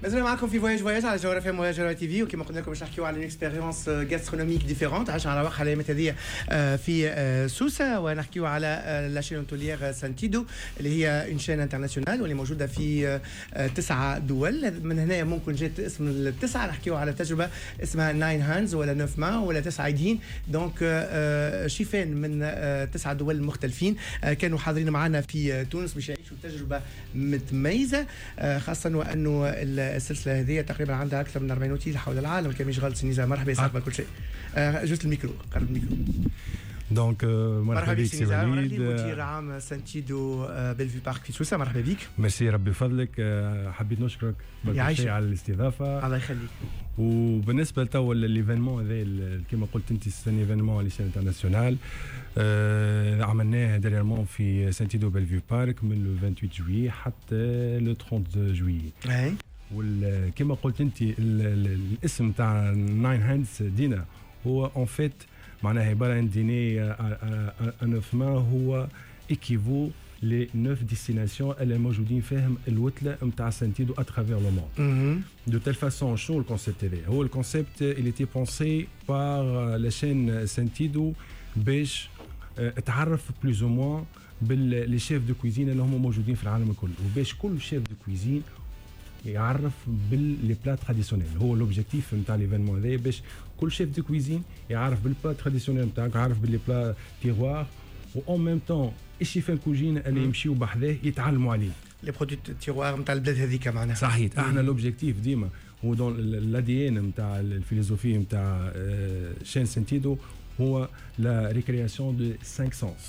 مازلنا معكم في Voyage Voyage على جوهرة FM وجوهرة TV، وكما قلنا لكم باش نحكيو على une expérience gastronomique différente عايشه على وقع الايامات هذه في سوسه، ونحكيو على la chaîne hôtelière Sentido اللي هي une chaîne internationale واللي موجودة في تسعة دول. من هنا ممكن جات اسم التسعه. نحكيو على تجربه اسمها Nine Hands ولا neuf mains ولا تسعة ايدين، donc شيفان من تسعة دول مختلفين كانوا حاضرين معنا في تونس باش يعيشوا تجربه متميزه، خاصة وانه السلسلة هذه تقريبا عندها اكثر من 40 اوتيل حول العالم كان مش غلط. سي نزار، مرحبا، صاحب كل شيء. Juste ال micro، قرب ال micro. Donc مرحبا بك سي وليد. مدير عام Sentido Bellevue Park في سوسه، مرحبا بك. ميرسي، ربي يفضلك. حبيت نشكرك شيء على الاستضافه. الله يخليك. وبالنسبة لتو l'événement هذا، كما قلت انت، c'est un événement à l'échelle internationale عملناه dernièrement في Sentido Bellevue Park من le 28 juillet حتى le 30 juillet. وكما قلت انت، الاسم تاع Nine Hands Dinner هو en fait معناها عبارة عن dîner à neuf mains، هو équivaut les neuf destinations اللي موجودين فيهم الوتله نتاع Sentido à travers le monde. De telle façon، شنو ال concept هذا؟ هو ال concept اللي était pensé par la chaîne Sentido باش تعرف plus ou moins بال les chefs de cuisine اللي هم موجودين في العالم الكل، وباش كل chef de cuisine يعرف بال les plats traditionnels. هو l'objectif نتاع l'événement هذا باش كل chef de cuisine يعرف بال plat traditionnel نتاعك، يعرف بال les plats terroir، و en même temps الشيفان كوجين اللي يمشيو بحذاه يتعلموا عليه. les produits terroir نتاع البلاد هذيك معناها. صحيح، احنا l'objectif ديما هو dans l'ADN نتاع ال philosophie نتاع chaîne Sentido هو la récréation de 5 sens،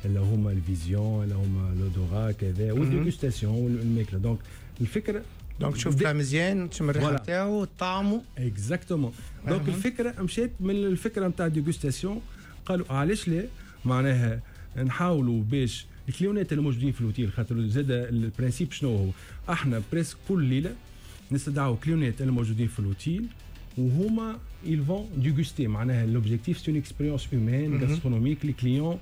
اللي هما ال vision، اللي هما l'odorat، كذا، وال dégustation والماكله. donc الفكرة donc تشوف plat مزيان، تشم الريحة نتاعو، طعمه. exactement. donc الفكرة مشات من الفكرة نتاع dégustation، قالوا علاش لا معناها نحاولوا باش الكليونات اللي موجودين في الاوتيل، خاطر زاد ال principe شنو هو؟ احنا presque كل ليلة نستدعوا كليونات اللي موجودين في الاوتيل وهما ils vont déguster. معناها l'objectif c'est une expérience humaine gastronomique، les clients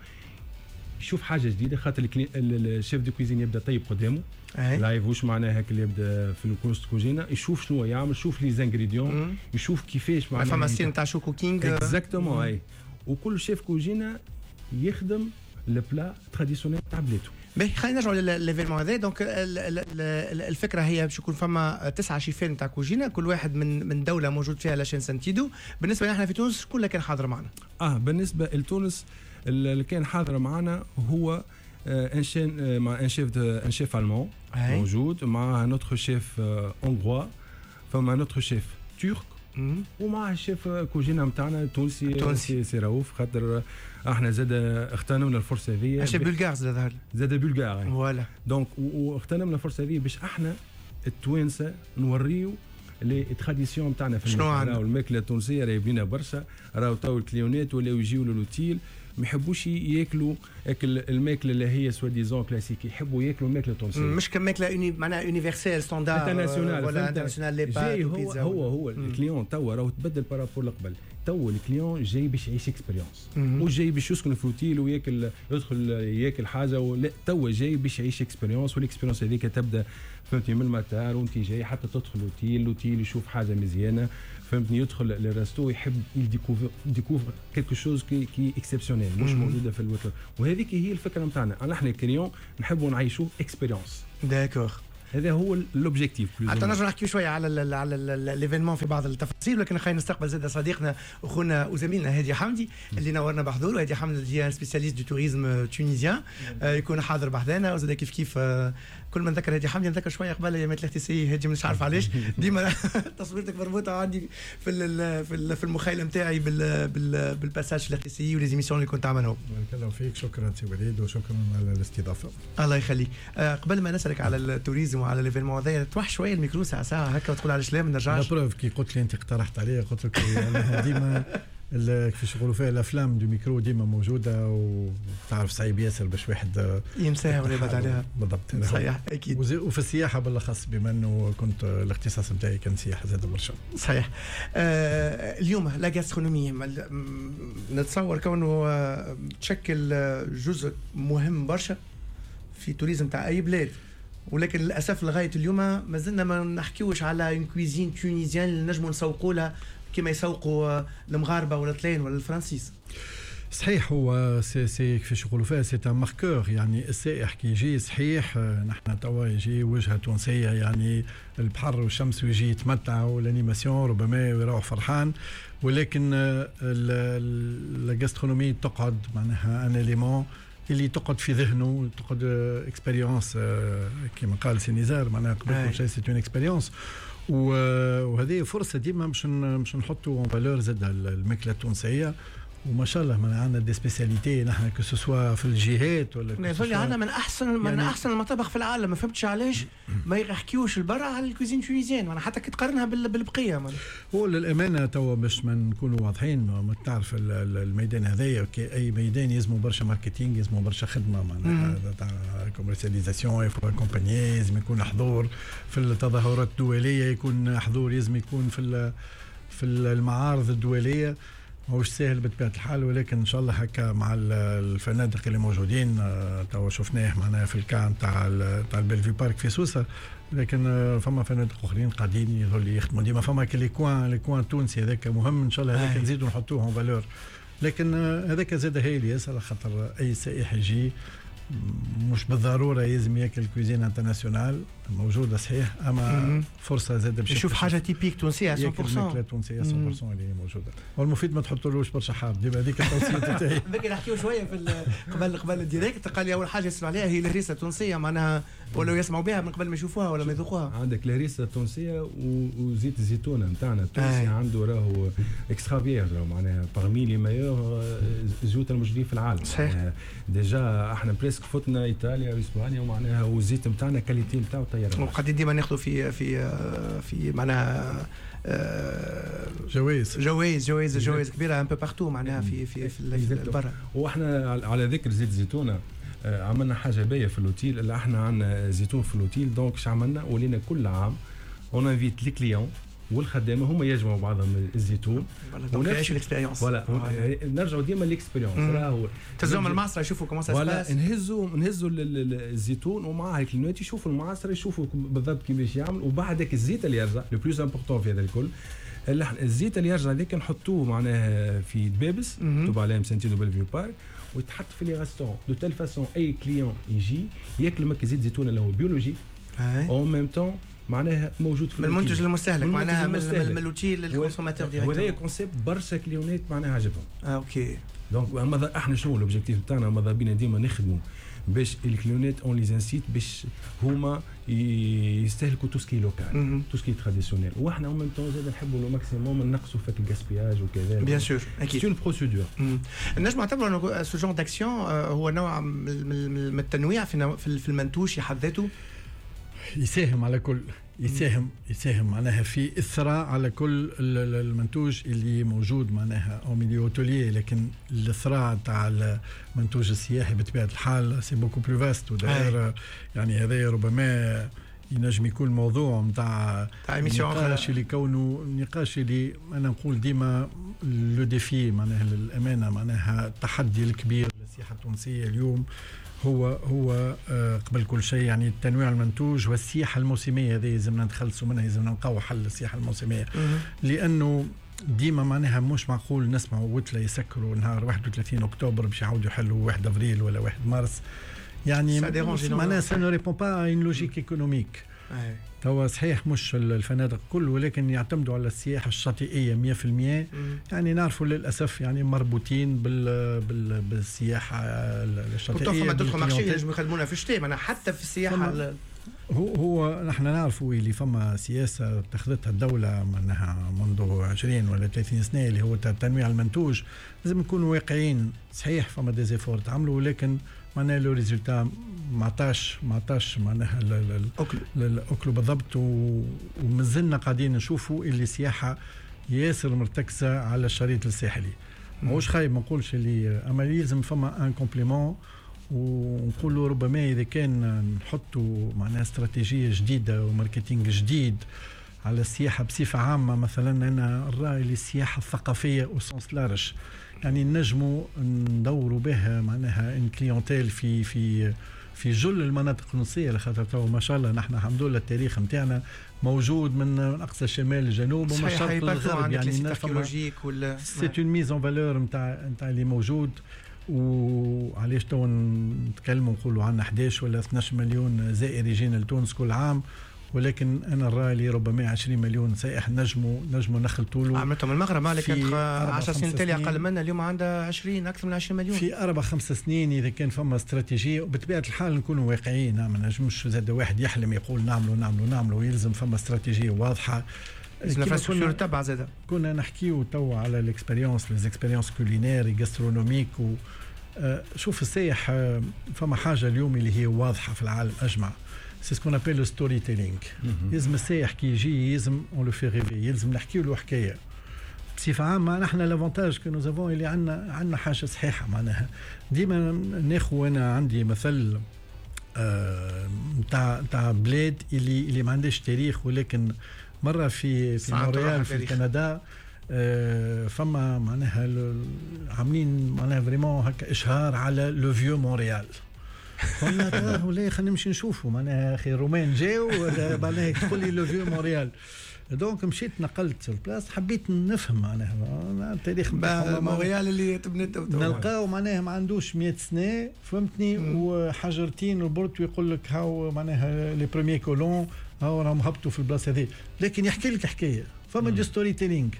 يشوف حاجة جديده، خاطر ال chef de cuisine يبدا طيب قدامه live، واش معناها اللي يبدا في الكوست كوجينا، يشوف شنو يعمل، يشوف les ingrédients، يشوف كيفاش. معناها فما style نتاع show cooking. exactement، اي، وكل شيف كوجينا يخدم le plat traditionnel تاع بلادو. باهي، خلينا نرجعوا ل l'événement هذا. donc الفكرة هي باش يكون فما تسعة شيفين تاع كوجينا، كل واحد من دولة موجود فيها la chaîne Sentido. بالنسبة لنا احنا في تونس، شكون اللي كان حاضر معنا؟ بالنسبة لتونس، اللي كان حاضر معنا هو un chef مع un chef allemand موجود، مع un autre chef hongrois، فما un autre chef turc، ومع الشيف كوجينا نتاعنا التونسي. تونسي. سي رؤوف، خاطر احنا زاد اغتنمنا الفرصة هذه. chef bulgare زاد ظهر. زاد bulgare. voilà. donc واغتنمنا الفرصة هذه باش احنا التوانسة نوريو les traditions نتاعنا في شنو عندنا. الماكلة التونسية راهي بنينه برشا. راهو تو الكليونات ولاو يجيو للوتيل ما يحبوش ياكلوا اكل الماكلة اللي هي soi-disant classique، يحبوا ياكلوا الماكلة التونسيه. مش كماكله معناها universelle standard internationale. ولا internationale، les pâtes. هو هو هو ال client توا راهو تبدل par rapport لقبل. تو ال client جاي باش يعيش expérience، مش جاي باش يسكن في اوتيل وياكل، يدخل ياكل حاجه. لا، توا جاي باش يعيش expérience، وال expérience هذيك تبدا، فهمتني، من المطار وانت جاي حتى تدخل اوتيل، الاوتيل يشوف حاجة مزيانه، فهمتني، يدخل لل resto يحب découvre quelque chose qui est exceptionnel، مش موجودة في الوتر. وهذيك هي الفكرة نتاعنا، نحن ال client نحبوا نعيشوا expérience. d'accord. هذا هو l'objectif. حتى نرجع نحكي شوية على l'événement في بعض التفاصيل، ولكن خلينا نستقبل زاد صديقنا اخونا وزميلنا هادي حمدي اللي نورنا بحضوره. هادي حمدي spécialiste du tourisme tunisien، يكون حاضر بحذانا. وزاد كيف كيف كل ما نذكر هادي حمدي نذكر شوية قبل ايامات ال RTCI. هادي مش عارف علاش ديما تصويرتك مربوطة عندي في المخيله نتاعي بال passage في ال RTCI و les émissions اللي كنت عاملهم. بارك الله فيك، شكرا سي وليد وشكرا على الاستضافه. الله يخليك. قبل ما نسالك على ال tourisme وعلى l'événement هذايا، توح شوية الميكرو ساعة ساعة هكا وتقول علاش لا ما نرجعش. la preuve، كي قلت لي انت اقترحت علي، قلت لك يعني ديما كيفاش يقولوا فيها la flamme du micro ديما موجوده، وتعرف صعيب ياسر باش واحد ينساها ولا يبعد عليها. بالضبط. صحيح، اكيد. وفي السياحة بالاخص، بما انه كنت الاختصاص نتاعي كان سياحة زاد برشا. صحيح. اليوم la gastronomie نتصور كونه تشكل جزء مهم برشا في tourisme تاع اي بلاد. ولكن للاسف لغاية اليوم ما زلنا ما نحكيوش على une cuisine tunisienne اللي نجموا نسوقوا لها كما يسوقوا المغاربة ولا الطلاين ولا الفرنسيس. صحيح، هو c'est كيفاش يقولوا فيها، c'est un marqueur. يعني السائح كي يجي، صحيح نحن توا يجي وجهه تونسيه، يعني البحر والشمس ويجي يتمتع وال animation ربما ويروح فرحان، ولكن la gastronomie تقعد معناها un élément اللي تقعد في ذهنه، تقعد expérience كما قال سي نزار، معناها قبل كل شيء c'est une expérience. وهذه فرصة ديما باش نحطوا en valeur زاد الماكلة التونسيه، وما شاء الله ما عندنا des spécialités نحن، que ce soit في الجهات ولا يظل عندنا من احسن من يعني احسن المطابخ في العالم. ما فهمتش علاش ما يحكيوش البرا على ال cuisine tunisienne، معناها حتى كي تقارنها بالبقيه. هو للامانة توا باش ما نكونوا واضحين، ما تعرف الميدان هذايا اي ميدان يلزموا برشا marketing، يلزموا برشا خدمة معناها تاع commercialisation، il faut accompagner، لازم يكون حضور في التظاهرات الدوليه، يكون حضور، لازم يكون في المعارض الدوليه. ماهوش ساهل بطبيعة الحال، ولكن ان شاء الله هكا مع الفنادق اللي موجودين، توا شفناه معناها في ال cas تاع ال Bellevue Park في سوسه، لكن فما فنادق اخرين قاعدين يظل يخدموا ديما، فما les coins التونسي هذاك مهم، ان شاء الله هذاك نزيدوا نحطوه en valeur. لكن هذاك زاد هايل ياسر، خاطر اي سائح يجي مش بالضرورة لازم ياكل cuisine internationale موجوده، صحيح، اما فرصة زاد باش يشوف حاجة typique تونسية 100%. ياكل ماكله تونسية 100% اللي هي موجوده، والمفيد ما تحطولوش برشا حار ديما، هذيك التوصية تاعي. بكري نحكيو شوية في قبل ال direct، قال لي اول حاجة يسالوا عليها هي الهريسه التونسيه، معناها ولا يسمعوا بها من قبل ما يشوفوها ولا ما يذوقوها. عندك الهريسه التونسية وزيت الزيتونه نتاعنا التونسي عنده راهو extra vierge، معناها parmi les meilleurs زيوت الموجودين في العالم. صحيح. déjà احنا presque فتنا ايطاليا واسبانيا، ومعناها والزيت نتاعنا qualité نتاعو طيارة. وقاعدين ديما ناخذوا في معناها جوائز. جوائز كبيرة un peu partout، معناها في برا. واحنا على ذكر زيت زيتونه، عملنا حاجة باهيه في l'hôtel، اللي احنا عندنا زيتون في l'hôtel، donc اش عملنا؟ ولينا كل عام on invite les clients والخدامه هما يجمعوا بعضهم الزيتون. ونعيشوا l'expérience. voilà، نرجعوا ديما l'expérience راهو. تهزوهم المعصره يشوفوا comment ça se passe. نهزوا الزيتون ومعاه الكلينات يشوفوا المعصره، يشوفوا بالضبط كيفاش يعمل، وبعدك الزيت اللي يرجع، le plus important في هذا الكل، الزيت اللي يرجع هذاك نحطوه معناها في دبابس مكتوب عليهم Sentido Bellevue Park، ويتحط في les restaurants de telle façon اي client يجي ياكل مك زيت زيتون اللي هو biologique en même temps معناها موجود في من المنتج المستهلك، معناها من l'hôtel لل consommateur direct. وهذا concept برشا كليونات معناها عجبهم. OK. donc احنا شنو l'objectif نتاعنا؟ ماذا بينا ديما نخدموا باش الكليونات on les incite باش هما يستهلكوا tout ce qui est local، tout ce qui est traditionnel، واحنا en même temps زاد نحبوا le maximum نقصوا في ال gaspillage وكذا. bien sûr، اكيد c'est une procédure. نجم نعتبر انه ce genre d'action هو نوع من التنويع في المنتوج في حد ذاته. يساهم على كل، يساهم معناها في اثراء على كل المنتوج اللي موجود معناها au milieu hôtelier، لكن الاثراء تاع المنتوج السياحي بطبيعة الحال c'est beaucoup plus vaste. وداير يعني هذا ربما ينجم يكون موضوع نتاع نقاش اللي كونه نقاش اللي انا نقول ديما le défi، معناها للامانة معناها التحدي الكبير للسياحة التونسية اليوم هو قبل كل شيء يعني التنويع المنتوج والسياحة الموسمية. هذه لازمنا نتخلصوا منها، لازمنا نلقاو حل للسياحة الموسمية، لانه ديما معناها مش معقول نسمعوا وتلا يسكروا نهار 31 اكتوبر باش يعاودوا يحلوا 1 افريل ولا 1 مارس. يعني معناها ça ne répond pas à une logique économique. توا صحيح مش الفنادق كل، ولكن يعتمدوا على السياحة الشاطئيه 100%. يعني نعرفوا للاسف يعني مربوطين بالسياحة الشاطئيه. فما d'autres marchés ينجموا يخدمونا في الشتاء، معناها حتى في السياحة. هو نحن نعرفوا اللي فما سياسة اتخذتها الدولة معناها منذ 20 ولا 30 سنة اللي هو تنويع المنتوج. لازم نكونوا واقعيين، صحيح فما des efforts تعملوا، ولكن معناها le résultat ما عطاش معناها الاكل بالضبط. ومازلنا قاعدين نشوفوا اللي السياحة ياسر مرتكزه على الشريط الساحلي. ماهوش خايب، ما نقولش اللي، اما يلزم فما un complément. ونقولوا ربما اذا كان نحطوا معناها استراتيجية جديدة و marketing جديد على السياحة بصفة عامه، مثلا انا الراي للسياحة الثقافية au sens large، يعني نجموا ندوروا بها معناها une clientèle في في في جل المناطق التونسيه، لخاطر تو ما شاء الله نحن الحمد لله التاريخ نتاعنا موجود من اقصى الشمال للجنوب ومن الشرق للغرب. يعني archéologique ولا c'est une mise en valeur نتاع اللي موجود. وعلاش تو نتكلموا نقولوا عندنا 11 ولا 12 مليون زائر يجينا لتونس كل عام، ولكن انا الراي اللي ربما 20 مليون سائح نجموا نخلطوا له. عملتهم المغرب مالك كانت 10 سنين تالي اقل منا، اليوم عندها 20، اكثر من 20 مليون. في 4-5 سنين اذا كان فما استراتيجيه، وبطبيعة الحال نكونوا واقعيين، ما نجمش زاد واحد يحلم يقول نعملوا نعملوا نعملوا، يلزم فما استراتيجية واضحه. l'infrastructure تبع زاد. كنا نحكيو تو على l'expérience، les expériences culinaires، gastronomiques و شوف السائح، فما حاجة اليوم اللي هي واضحة في العالم اجمع، c'est ce qu'on appelle le storytelling. لازم السائح كي يجي يلزم on le fait rêver، يلزم نحكي له حكاية. بصفة عامة نحن l'avantage que nous avons اللي عندنا حاجة صحيحه. معناها ديما ناخذ، انا عندي مثل نتاع بلاد اللي ما عندهاش تاريخ، ولكن مرة في مونريال في كندا فما معناها عاملين معناها vraiment هكا اشهار على le vieux Montréal. قلنا ولا خلينا نمشي نشوفوا، معناها اخي الرومان جاو معناها تقول لي le vieux Montréal. donc مشيت نقلت sur place، حبيت نفهم معناها التاريخ. مونريال اللي تبنت نلقاو معناها ما عندوش 100 سنه، فهمتني، وحجرتين وبرت ويقول لك هاو معناها les premiers colons هاو راهم هبطوا في البلاصة هذه، لكن يحكي لك حكايه، فما du storytelling.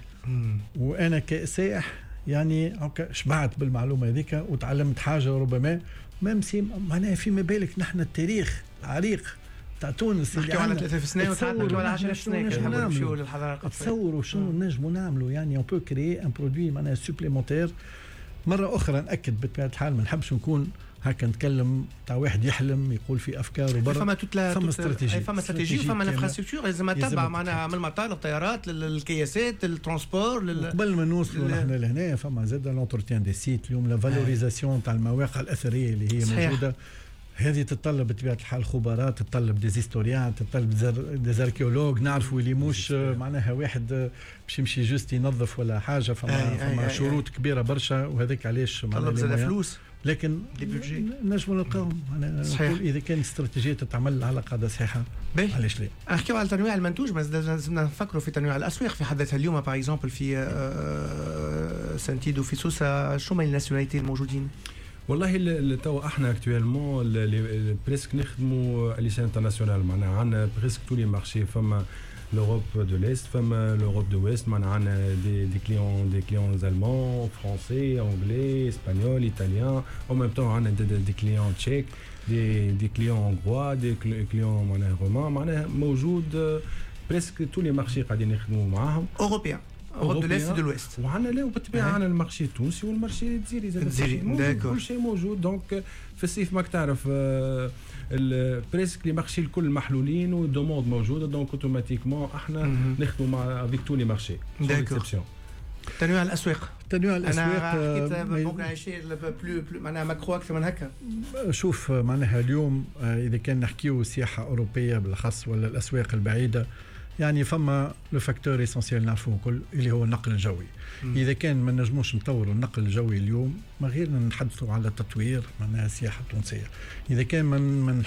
وانا كسائح يعني هكا شبعت بالمعلومه هذيك وتعلمت حاجة ربما même si معناها فيما بالك نحن التاريخ العريق تاع تونس. اللي على 30 سنة وساعات نحكيو على 10 سنين نحبوا نمشيو للحضاره. تصوروا شنو نجموا نعملوا، يعني on peut créer un produit معناها supplémentaire. مرة اخرى ناكد، بطبيعة الحال ما نحبش نكون هكا نتكلم تاع واحد يحلم يقول في افكار وبرا. فما toute la فما استراتيجيه. فما استراتيجية وفما l'infrastructure لازم تتبع، معناها من المطار، الطيارات، الكياسات، ال transport. قبل ما نوصلوا نحن لهنا فما زاد l'entretien des sites. اليوم la valorisation تاع المواقع الاثرية اللي هي موجوده، هذه تتطلب بطبيعة الحال خبراء، تتطلب des historiens، تتطلب des archéologues. نعرفوا اللي مش معناها واحد باش يمشي juste ينظف ولا حاجه، فما شروط كبيرة برشا، وهذاك علاش معناها تطلب فلوس. لكن نجموا نلقاهم. انا نقول اذا كان استراتيجية تتعمل على قاعدة صحيحه، علاش لا؟ نحكيو على تنويع المنتوج، بس لازمنا نفكروا في تنويع الاسواق في حد ذاتها. اليوم par exemple في سانتيدو في سوسه، شو ما les nationalités الموجودين؟ والله تو احنا actuellement presque نخدموا à l'échelle internationale، معناها عندنا presque tous les marchés. فما l'Europe de l'Est، فما l'Europe de l'Ouest، معناها عندنا des clients allemands، français، anglais، espagnols، italiens، en même temps عندنا des clients tchèques، des clients hongrois، des clients معناها roumains. معناها موجود presque tous les marchés قاعدين نخدموا معاهم. européens، Europe de l'Est، de l'Ouest. وعندنا لا وبالطبيعه عندنا ال marché التونسي وال marché الجزيري. الجزيري، d'accord. كل شيء موجود. donc في الصيف ماك تعرف presque les marchés الكل محلولين وال demande موجوده، donc automatiquement احنا نخدموا مع avec tous les marchés. d'accord. تنويع الاسواق. تنويع الاسواق. انا حكيت ممكن شيء plus plus معناها macro اكثر من هكا. شوف معناها اليوم اذا كان نحكيو سياحة اوروبية بالاخص ولا الاسواق البعيده، يعني فما le facteur essentiel نعرفوه الكل اللي هو النقل الجوي. اذا كان ما نجموش نطوروا النقل الجوي اليوم، ما غير نتحدثوا على تطوير معناها السياحة التونسيه. اذا كان من